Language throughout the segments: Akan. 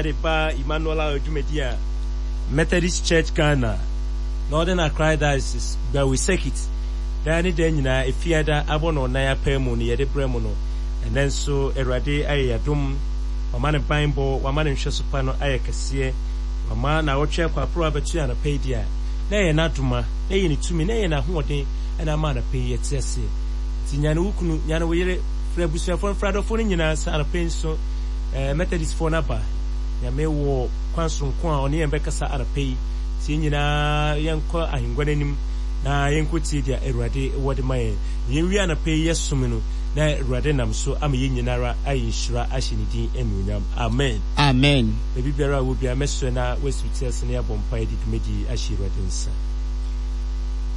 De ba Emmanuel Hour dwumadi a Methodist Church Ghana, Northern Accra Diocese, Gbawe Circuit, daa ne daa nyinaa Efiada abɔ nnɔnnan apaamu no yɛde brɛ mo no. Ɛnnɛ nso Awurade ayɛ yɛn adom, wama ne banbɔ, wama ne nhwɛso pa no ayɛ kɛseɛ, wama naawɔtwe akɔ aporow abɛto yɛn anɔpa yi deɛ a, na ɛyɛ n'adoma, na ɛyɛ ne tumi, na ɛyɛ n'ahoɔden na ama anɔpa yi yɛte aseɛ. Nti nyane wo kunu, nyane wo yere, frɛ abusuafoɔ no, frɛ adɔfoɔ no nyinaa sɛ anɔpa yi nso Eh, Methodistfoɔ no aba. Nyame wɔ kwan soronko a ɔne yɛn bɛkasa anɔpa yi. Nti yɛn nyinaa yɛnkɔ ahengua no anim na yɛnkɔtie deɛ Awurade wɔ de ma yɛn. Na yɛnwie anɔpa yi yɛsom no, na Awurade nam so ama yɛn nyinara ayɛ nhyira ahyɛ ne din anuonyam. Amen. Amen. Baabi biara a wɔ biara, mɛsrɛ na woasi wo ti ase na yɛabɔ mpaeɛ de dwumadie yi ahyɛ Awurade nsa.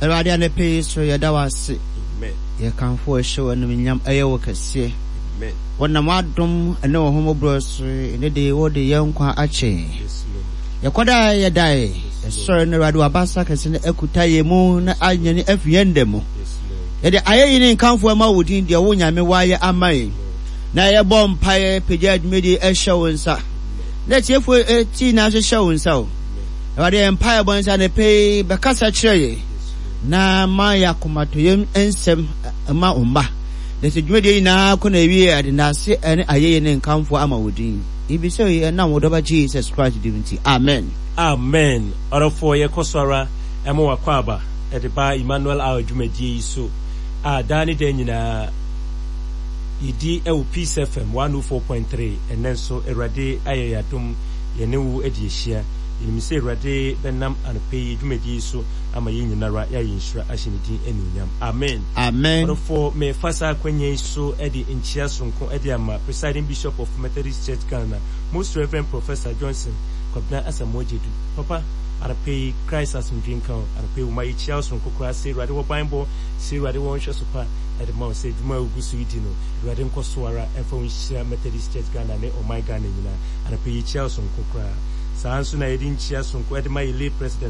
Awurade anɔpa yi so yɛda wo ase. Amen. Yɛkamfo wo hyɛ wo animuonyam, ɛyɛ wo kɛseɛ. Amen. Wɔnam w'adom ne wo ahummɔborɔ so ɛnnɛ da yi wode yɛn nkwa akyɛ yɛn. Yɛkɔdaeɛ yɛdaeɛ, yɛsɔre no Awurade w'abasa kɛse no akuta yɛn mu na anyane afi yɛn nna mu. Yɛde ayeyi ne nkamfo ma wo din deɛ wo Nyame woayɛ ama yɛn. Na yɛbɔ mpaeɛ pagya dwumadie hyɛ wo nsa. Na atiefoɔ ti nyinaa nso hyɛ wo nsa o. Awurade yɛn mpaebɔ ne sɛ anɔpa yi bɛkasa kyerɛ yɛn na ma yɛn akomatɔyam nsɛm ma wo mma. Na sɛ dwumadie nyinaa kɔ n'awieɛ a, yɛde ndaase ne ayɛyie ne nkamfoɔ ama wo din. Yɛbisa yi ɛnam wo Dɔba Jesus Christ din nti, amen. Amen ɔdɔfoɔ yɛkɔ so ara ma w'akwaaba de ba Emmanuel Hour dwumadie yi so a daa ne daa nyinaa yɛdi wɔ Peace FM 104.3 ɛnnɛ nso Awurade ayɛ yɛn adom yɛne wo adi ahyia yɛnim sɛ Awurade bɛnam anɔpa yi dwumadie yi so ama yɛn nyinara yɛayɛ nhyira ahyɛ ne din anuonyam Amen. Amen. Ɔdɔfoɔ, merefa saa akwanya yi so de nkyea soronko de ama Presiding Bishop of Methodist Church Ghana, Most Reverend Professor Johnson Kwabena Asamoah Gyedu. Papa, anɔpa yi, Christ asomdwoe nka wo. Anɔpa yi, wo ma yɛkyia wo soronko koraa sɛ Awurade wɔ banbɔ, sɛ Awurade wɔ nhwɛso pa de ma wo, sɛ adwuma a wogu so redi no, Awurade nkɔ so ara mfa wo nhyira Methodist Church Ghana ne ɔman Ghana nyinaa. Anɔpa yi, yɛkyia wo soronko koraa. Saa ara nso na yɛde nkyea soronko de ma yɛn lay president,